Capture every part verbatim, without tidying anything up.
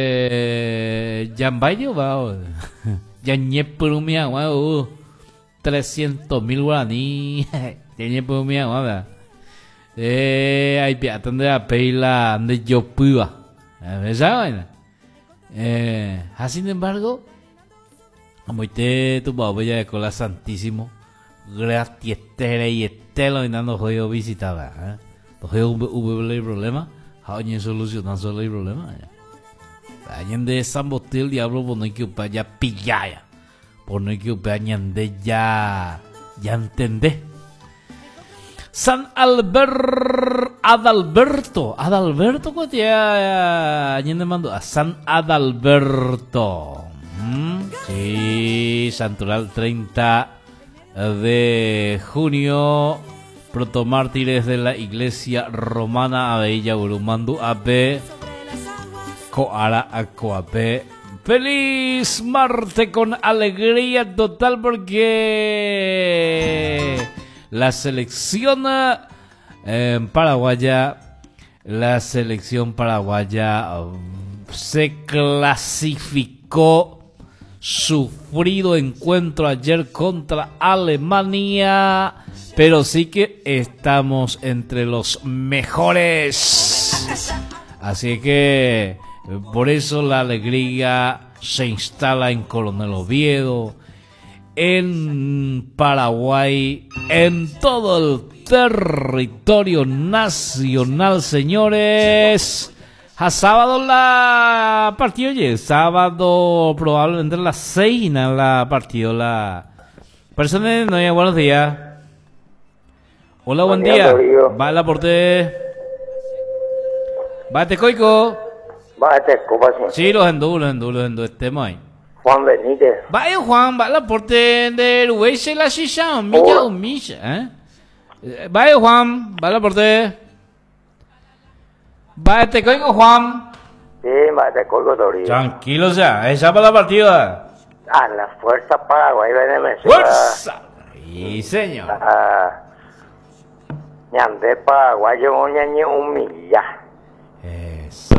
Eh, jambayo va jañepyrũmi hag̃ua trescientos mil guaraní jañepyrũmi hag̃ua eh, aipe'áta nde apéi la ndejopýva esa vaina. eh, ha sin embargo amoite tupãópe jareko la Santísimo gratiete lo ndohói ovisitava, eh? Ndohói upépe el problema ha oñesoluciona solo el problema. Ñande samboty el diablo pono que upe ya pillaya, pono que upe ñande ya ya entendé. San Albert Adalberto, Adalberto kuatia ñande mando a San Adalberto. Mm, sí, Santoral treinta de junio, protomártires de la Iglesia Romana avei Mandu ape Koara Akoape. Feliz martes con alegría total porque la selección eh, paraguaya, la selección paraguaya se clasificó, sufrido encuentro ayer contra Alemania, pero sí que estamos entre los mejores. Así que por eso la alegría se instala en Coronel Oviedo, en Paraguay, en todo el territorio nacional, señores. A sábado la partido, oye, sábado probablemente a las seis la partido la persona. No, buenos días. Hola, buen día. Va la porte. Va te coico. Va te copa. Sí, los endú, los endú, los endú, estemos ahí. Juan Benítez. Va Juan, va la porte de Uruguay la shisha, milla milla, ¿eh? Va Juan, va la porte. Va te coico, Juan. Sí, va te coico, Toribio. Tranquilo ya, esa para la partida. A la Fuerza Paraguay, ven. ¡Fuerza! Sí, señor. Ah, ñande paraguayo ñañe humilla. Eso.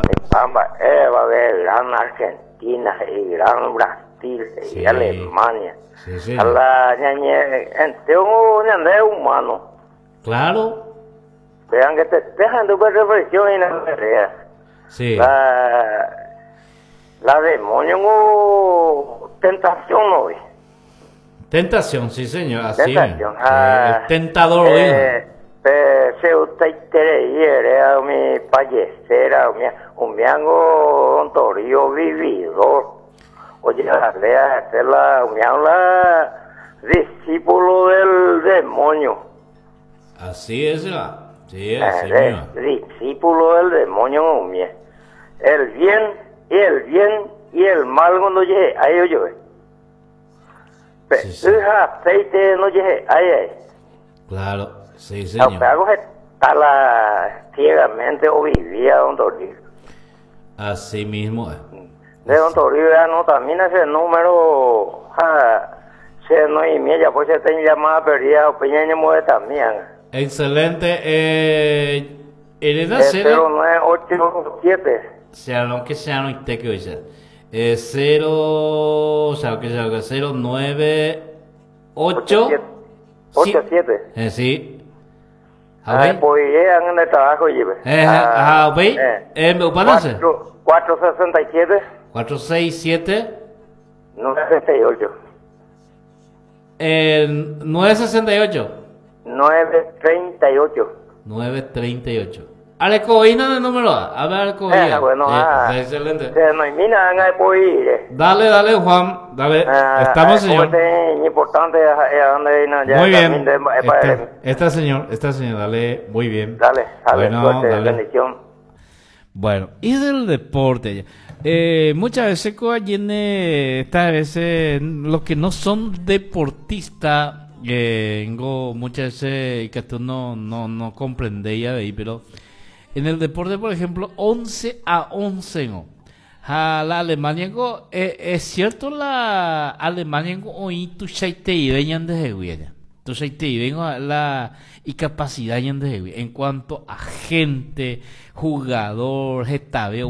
Eh, va a ver gran Argentina y gran Brasil y Sí. Alemania. Sí, sí. A la ñañe, enteo ñande humano. Claro. Vean que te dejan de ver reflexión y la pelea. Sí. La, la demonio o tentación hoy. Tentación, sí, señor. Así Tentación. mismo. Sí, el tentador hoy. Eh, eh, se usted quiere mi pallecera, mi un miango un torillo vividor. Oye, la lea, esta es la, un la discípulo del demonio. Así es, la. Sí, así Eh, mismo. Discípulo del demonio, mie. El bien y el bien y el mal cuando llegue, ahí yo. Sí, sí. Aceite no llegue, ahí, ahí. Claro, sí, señor. Aunque algo está la ciegamente o vivía don Toribio. Así mismo es. De don Toribio ya no también ese número, ja, se no y media, pues se ten llamada perdida o peña ni mueve también. Excelente. Eh, Elena Es cero, cero nueve ocho siete. Sea lo que sea, no te que oye. Eh, cero, o sea, que sea, cero, nueve, ocho, ocho siete. Eh, sí. A Ah, ver. pues llegan en el trabajo, lleve. Eh, ajá, ok. Eh, ¿me parece? cuatro sesenta y siete. cuatro, seis, siete. nueve sesenta y ocho. Eh, nueve sesenta y ocho. nueve treinta y ocho. nueve treinta y ocho. Alecoína de número A. A ver, Alecoína. Eh, bueno, Sí, ah. excelente. Se no mina en el Dale, dale, Juan. Dale. Ah, Estamos, eh, señor. Es importante eh, donde no, ya Muy bien. también de- eh, para- Está, está, señor. Está, señor. Dale, muy bien. Dale, dale, Bueno, suerte, dale. bendición. Bueno, y del deporte. Eh, muchas veces, llene, estas veces, los que no son deportistas, eh, muchas veces que tú no, no, no comprendéis ahí, pero en el deporte, por ejemplo, once a once, ¿no? A la Alemania, eh, es cierto, la Alemania, hoy tu de entonces te vengo la y capacidad en cuanto a gente, jugador, hetave,